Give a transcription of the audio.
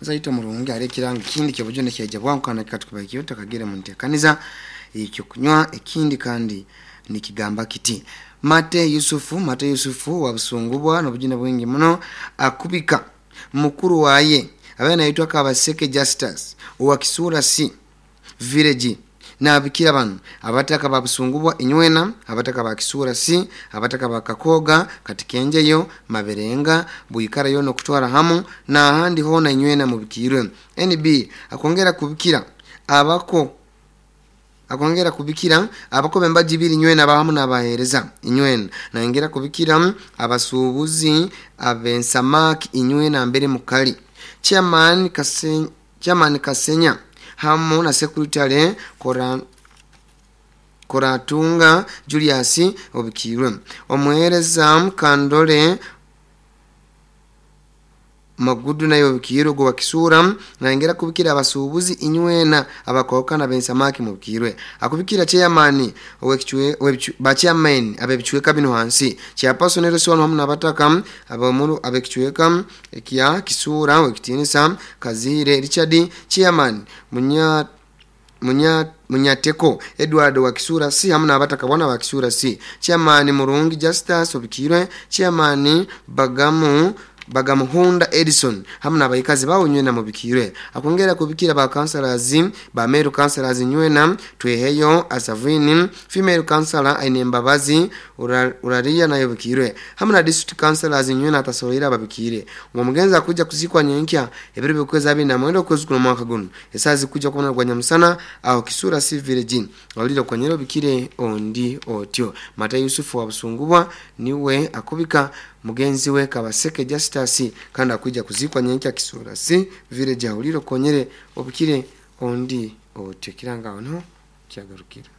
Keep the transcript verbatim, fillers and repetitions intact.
Zaito murungi ari ekirango kindi kyobujune kyaija bwangu kandi katukubaikyo takagire muntekaniza ekyo kunywa ekindi kandi nikigamba kiti Mate Yusufu Mate Yusufu wa Busungubwa n'obujune bwingi muno akubika mukuru waye abaye naitwa Kabaseke Justus owa Kisura C village nabikira bano abataka ba Busungubwa inywena, abataka ba Kisura C, abataka ba Kakoga Katikenjeyo Maberenga Buikara yono kutwara hamu na ahandi hona inywena mubikirwe. N B akongera kubikira abako akongera kubikira abako bembaji biri nywena abahamu n'abahereza inywena, naongera kubikira abasubuzi abensamaki inywena mbere mukali Chairman Kasenya, Chairman Kasenya hamu na secretary Kora Koratunga Julius obikirwe omuhereza Kandole Magudu nayo obikirwe gwa Kisura, naongera kubikira abasubuzi inywena abakoka na bensamaki mubikirwe. Akubikira chairman owekichwe ba chairman abebichweka bino hansi chairperson Nelson hamu nabataka abamuru abekichweka ekya Kisura wekitinisa Kazire Richard chairman Munya Munya Munyateko Edward wa Kisura C hamu nabataka bwana wa Kisura C chairman Murungi Justus obikirwe chairman Bagamu Bagamuhunda Edison hamu n'abayikazi bawo nywena mubikirwe. Akongera kubikira ba councillors ba male councillors nywena Tweheyo Asavini female councillor Aine Mbabazi Uraria nayo bikirwe hamu na district councillors nywena atasolera ababikire. Uwo mugenzi akuja kuzikwa nyenkya ebiro bikweza abiri na mwenda okwezi kuno mwaka guno esazi kuja kubona gwa Nyamusana aho Kisura C village waliro kwanyero bikire ondi otyo. Mata Yusufu wa Busungubwa niwe akubika mugenzi we Kabaseke Justus kandi akuja kuzikwa nyenkya Kisura C village ahuliro konyere obukire ondi otyo kiranga ono kyagarukira.